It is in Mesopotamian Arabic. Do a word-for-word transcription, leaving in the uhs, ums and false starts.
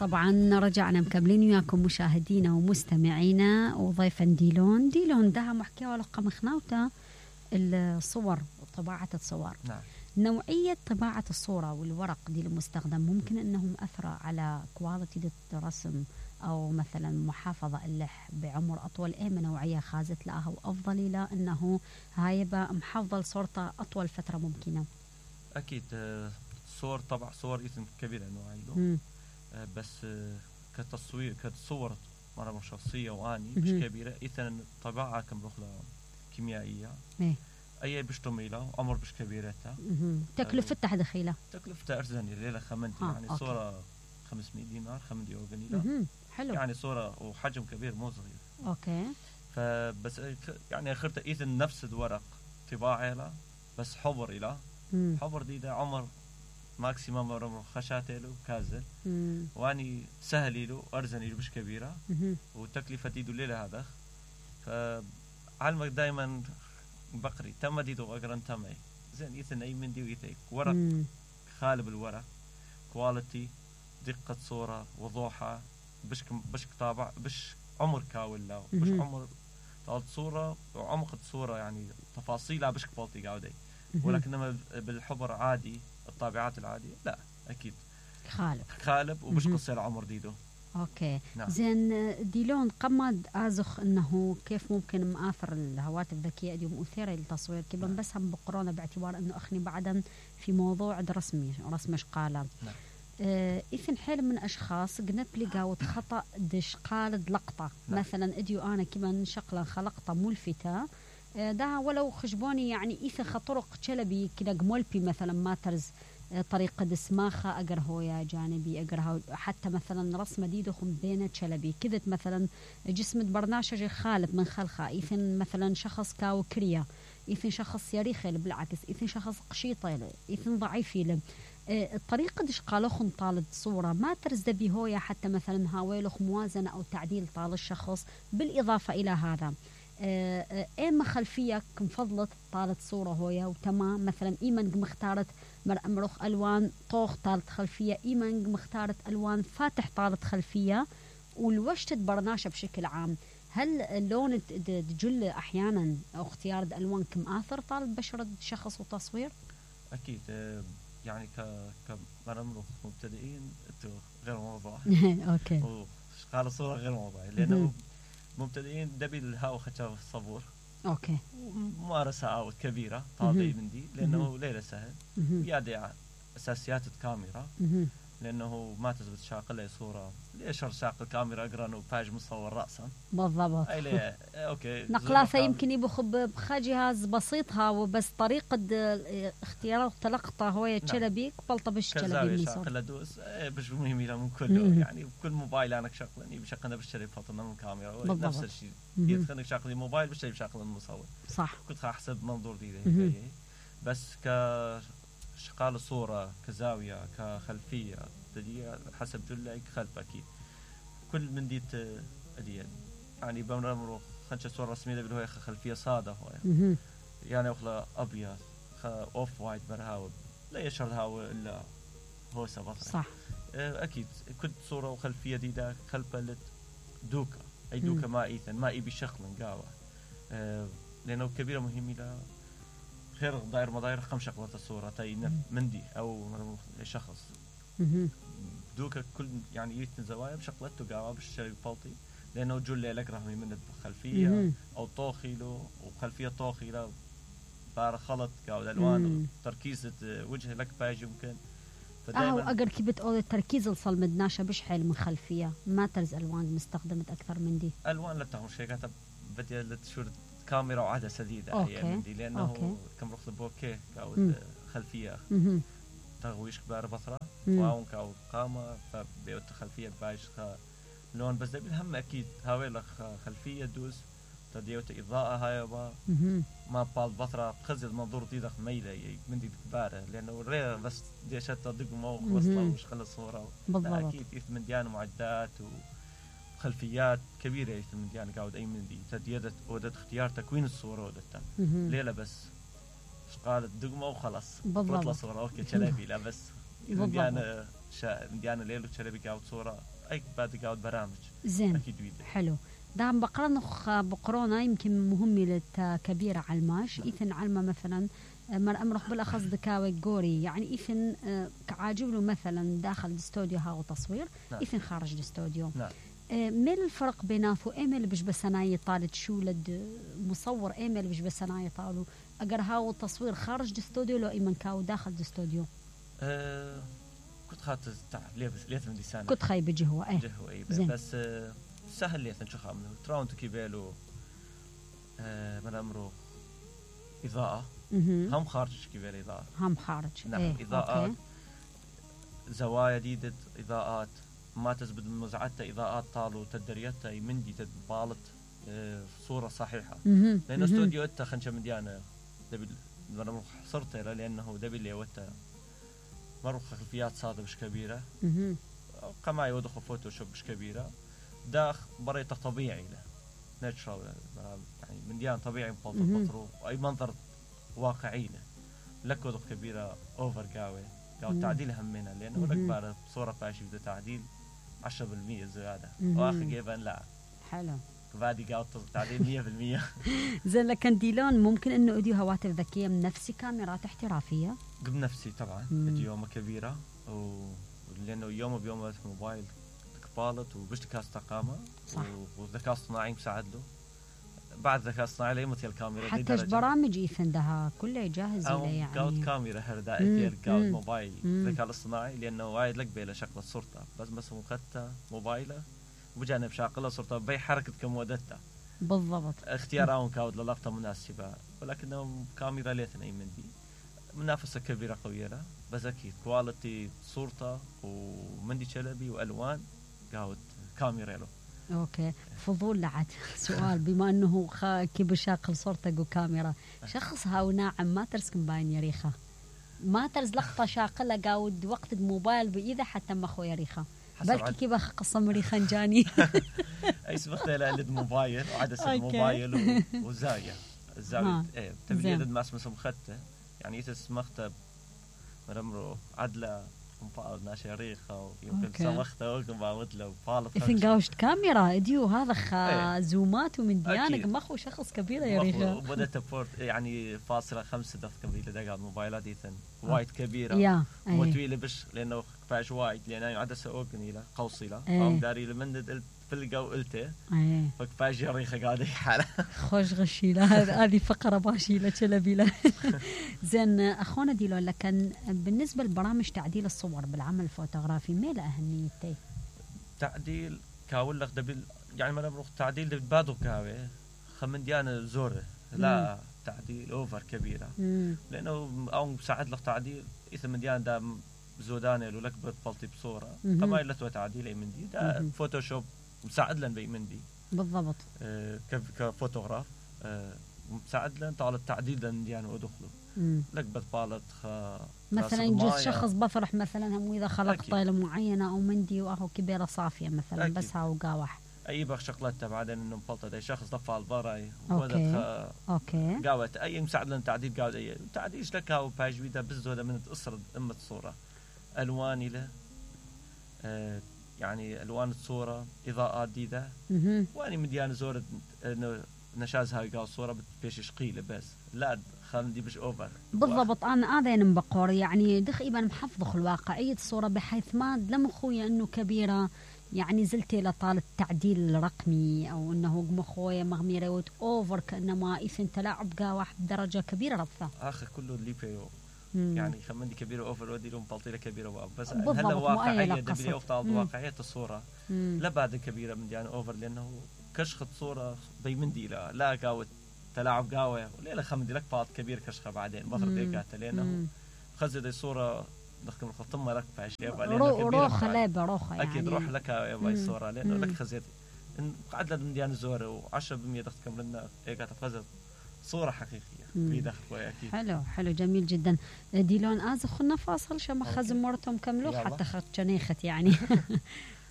طبعا رجعنا مكملين وياكم مشاهدينا ومستمعينا وضيفا ديلون ديلون ده محكي ولا قمخناوتا الصور وطباعة الصور. نعم. نوعية طباعة الصورة والورق دي المستخدم ممكن انهم أثر على كواليتي الرسم او مثلا محافظة اللح بعمر اطول. ايه نوعية خازت لها وافضل لا انه هاي محفظ صورته اطول فترة ممكنة؟ اكيد صور طبع صور ايثن كبيرة نوعية بس كتصوير كتصور مرة شخصية واني مش كبيرة ايثن طباعة كم رخلة كيميائية ايه اي بشتميلة عمر مش كبيرتها. تكلفتها دخيلة؟ تكلفتها ارزانية ليلة خمنتي يعني أوكي. صورة خمسمية دينار خمسمية قليلة حلو يعني صورة وحجم كبير مو صغير. اوكي. فبس يعني اخرت ايثن نفس الورق طباعة له بس حبر إله حبر دي ده عمر ماكسيمم عمر خشاتي له كازل مم. واني سهل له ارزني له مش كبيرة مم. وتكلفة دي ليلة هذا فعلمك دائما بقري تم دي دو اقرن تمي زين ايثن اي من دي ويثيك ورق مم. خالب الورق كواليتي دقة صورة وضوحها بش بش طابع بش عمر كاول له بش عمر طالت صورة وعمق الصورة يعني تفاصيلها بش كواليتي قاعدة ولكنما بالحبر عادي الطابعات العادية لا أكيد خالب خالب وبش قصير عمر ديدو. أوكي. نعم. زين ديلون قمد أزخ إنه كيف ممكن مآثر الهواتف الذكية دي مثيرة للتصوير كيف نعم. بس هم بقرونا باعتبار إنه أخني بعدا في موضوع رسمي رسم شقالة. نعم. آه إثن حيل من أشخاص قنب لقاوت خطأ دش قالد لقطة. نعم. مثلا إديو أنا كمان شقلا خلقطة ملفتة آه ده ولو خشبوني يعني إثن خطرق شلبي كده قمولبي مثلا ما ترز طريقة دسماخة أقره يا جانبي أقرها حتى مثلا رسمة دي دخم بين شلبي كذت مثلا جسم برناشج خالب من خلخة إيثن مثلا شخص كاو كريا إيثن شخص يريخي بالعكس إيثن شخص قشيطة إيثن ضعيفي الطريقة دش قالوخن طالد صورة ما ترز دبي هويا حتى مثلا هاويلوخ موازنة أو تعديل طال الشخص بالإضافة إلى هذا ايما خلفية كم فضلت طالت صورة هويا وتمام مثلا ايمن مختارت مرخ الوان طوخ طالت خلفية ايمن مختارت الوان فاتح طالت خلفية والوشت برناشة بشكل عام. هل اللون تجل احيانا او اختيار الالوان كم اثر طالت بشرة شخص وتصوير؟ اكيد يعني ك كمرمرخ مبتدئين غير موضوع اوكي قال صورة غير موضوع لانه مبتدئين دبي الهاو خشاف الصبور اوكي ممارسة عاود كبيرة طالبي من دي لانه ليلة سهل يادع اساسيات الكاميرا لانه ما تثبت شاقل صورة ليش شاقل الكاميرا اقرا وفاج مصور راسا بالضبط اي ليه اوكي نقلاثه يمكن يبخ بخجهاز بسيطها وبس طريقة اختيار تلقطه هو تشلبيك بلطه بش تشلبي من شاقل ادوس بش مهم له من كله يعني بكل موبايل انا شغلني بشغلنا بالشري فاطمه من كاميرا نفس الشيء يدخلك شغلي موبايل بالشري بشغل المصور صح كنت احسب منظور دي بس كشقال صورة كزاوية كخلفية دي حسب جلك خلف أكيد كل من ديت أديان يعني بمرمرو خنشة صورة رسمية بالهوية خلفية صادة هوية يعني أخلا أبيض أوف وايت برهاو لا يشعر هاو إلا هو سبطة صح أكيد كل صورة وخلفية دي دا خلفة دوكا أي دوكا ما إيثن ما إيبي شخلا قاوة لأنه كبيرة مهمة لا غير داير مداير خم شغلة الصورة تاي مندي أو شخص دوكا كل يعني يتن زوايا بشغلته قاوة بالشري فالطي لأنه جل لك رحمي من الخلفية أو طوخي له وخلفية طوخي له بار خلط قاوة الألوان تركيزة وجه لك باج يمكن أو أقر كي بتقول التركيز الصل مدناشة بش حيل من خلفية ما ترز ألوان مستخدمت أكثر من دي ألوان لا تهم شيء كاتب بدي لتشور كاميرا وعدسة جديدة هي من دي لأنه أوكي. كم رخص بوكيه قاود خلفية تغويش كبار بطرة وعون كاو قامة فبيوت خلفية بايش لون بس ده بالهم أكيد هاوي لك خلفية دوس تديوت إضاءة هاي با ما بال بطرة خزل منظور دي دخ ميلة من دي كبارة لأنه ريه بس دي شت تدق موق وصلة وش خلص صورة أكيد إث من ديان معدات و خلفيات كبيرة من ديان قاعد أي من دي تديدة ودت اختيار تكوين الصورة ودتها ليلة بس قالت دقمة وخلاص بطلة صورة أوكي شلبي لا بس من ديان شا من ديان ليلة شلبي قاعد صورة اي بعد قاعد برامج زين اكيد ويدا حلو دام بقرنخ بقرونا يمكن مهمة كبيرة على الماش إيثن علمة مثلا مر أمرخ بالأخص دكاوي جوري يعني إيثن كعاجب له مثلا داخل الاستوديو هاو تصوير نعم. إيثن خارج الاستوديو نعم. ما الفرق بيناتو إيميل بش بسناي طالت شو لد مصور إيميل بش بسناي طالو أجر هاو التصوير خارج الاستوديو لو إيمن كاو داخل الاستوديو أه كنت خاطر تعب ليه بس ليه من ديسان كنت خايب جهوة إيه جهوة إيه بس أه سهل ليه شو خامنه تراونتو كيبالو أه من أمره إضاءة هم خارج كيبال إضاءة هم خارج نعم إيه. إضاءات أوكي. زوايا جديدة إضاءات ما تزبد مزعتها إضاءات طالو تدريتها يمندي تبالط أه صورة صحيحة لأن استوديو إتا خنشة مديانة دبل من صرت لأنه دبل اللي وتا مرة خلفيات صادة مش كبيرة كما يوضخ فوتوشوب مش كبيرة داخ بريته طبيعي له ناتشرال يعني من ديان طبيعي بطل بطرو أي منظر واقعي له لك وضخ كبيرة أوفر قاوي قاوي تعديل همنا لأنه لك بعد صورة باشي بده تعديل عشرة بالمية زيادة وآخر جيبان لا حلو بعدي قاعد تعديل مية بالمية زين لكن ديلون ممكن انه اديو هواتف ذكيه من نفس كاميرات احترافيه بنفسي طبعا اديو كبيره و لانه يوم بيوم موبايل كبالت وبش ذكاء قامه وذكاء اصطناعي مساعد له بعد ذكاء اصطناعي لا مثل الكاميرا حتى برامج يفندها كلها جاهزه له يعني قاعد كاميرا هردا اتير قاعد موبايل ذكاء الاصطناعي لانه وايد لك بلا شكل صورته بس بس مخته موبايله وبجانب شاقله صورته بي حركه كمودتها بالضبط اختيارهم كاود للقطه مناسبه ولكنه كاميرا ليتنا يمندي منافسه كبيره قويه له بس اكيد كواليتي صورته ومندي شلبي والوان قاود كاميرا له اوكي فضول لعد سؤال بما انه كيف شاقل صورتك وكاميرا شخص هاو ناعم ما ترسكن باين يريخه ما ترز لقطه شاقله قاود وقت الموبايل باذا حتى ما اخو يريخه بلكي كيف قصة مريخا جاني اي سبخت له لد موبايل وعدسة موبايل وزاوية الزاوية ايه تبي لد ماس مسم خدته يعني يتسمخته مرمرو عدله مفاض ناشي ريخة ويمكن سمخته ويمكن بعمتله وفالط إذن قاوشت كاميرا اديو هذا خا زومات ومن ديانك مخو شخص كبير يا ريخة وبدأت بورت يعني فاصلة خمسة دقيقة كبيرة دقائق موبايلات إذن وايد كبيرة يا وطويلة بش لأنه كفاش وايد لأنه عدسة أوغني له قوصي له قام داري لمن في الجو قلته فكفاش ريخة قاعدة حالة خوش غشي له هذه فقرة باشي له شلبي له زين أخونا ديلو لكن بالنسبة لبرامج تعديل الصور بالعمل الفوتوغرافي ما له أهميته تعديل كاول لك دبل يعني ما نبرخ تعديل دبل بادو كاوي خمن ديانة زورة لا مم. تعديل أوفر كبيرة مم. لأنه أو مساعد لك تعديل إذا من ديانة دا زودانة لو لك بطلتي بصورة كما يلتوا تعديل أي من دي دا فوتوشوب مساعد لنا بي من دي بالضبط آه كفوتوغراف آه مساعد لنا طال التعديل لنا ديانة ودخله لك بتبالط خ مثلا يجوز شخص بفرح مثلا هم إذا خلق طايلة معينة أو مندي وأهو كبيرة صافية مثلا أكيد. بس هاو قاوح أي بخ شغلته بعدين إنه مبلطة ده شخص ضفع البراي أوكي أوكي قاوت أي مساعد لنا تعديل قاوت أي تعديل لك هاو باجوي ده بزودة من تقصر أمة صورة ألواني له آه يعني ألوان الصورة إضاءات جديدة وأني مديان زورة إنه نشاز هاي قاو صورة بتبيش شقيلة بس لا خلنا دي مش أوفر بالضبط أنا آذين بقور يعني دخ إبن محفظ الواقعية الصورة بحيث ما لم خويا إنه كبيرة يعني زلتي لطال التعديل الرقمي أو إنه مخويا مغميرة وت أوفر كأنما إذن تلاعب قاوح بدرجة كبيرة رفضة آخر كله اللي بيو يعني خمندي كبيرة أوفر ودي لهم بلطيلة كبيرة واب بس هلا واقعية دبلي أوفر واقعية الصورة مم. لا بعد كبيرة من يعني أوفر لأنه كشخة صورة بيمندي لا لا قاوت تلاعب قاوة وليلة خمدي لك فاض كبير كشخة بعدين بطر ديكاته لأنه خزد الصورة نخدم الخطمة لك فاش يبقى لأنه روخة لابة روخة يعني أكيد روح لك يبقى الصورة لأنه لك خزد إن قعد لنا ديان الزورة وعشرة بالمية دخل كملنا إيقات خزد صورة حقيقية بيدخل أكيد حلو حلو جميل جدا ديلون آز خلنا فاصل شما خزم مرتهم كملوا حتى خد شنيخت يعني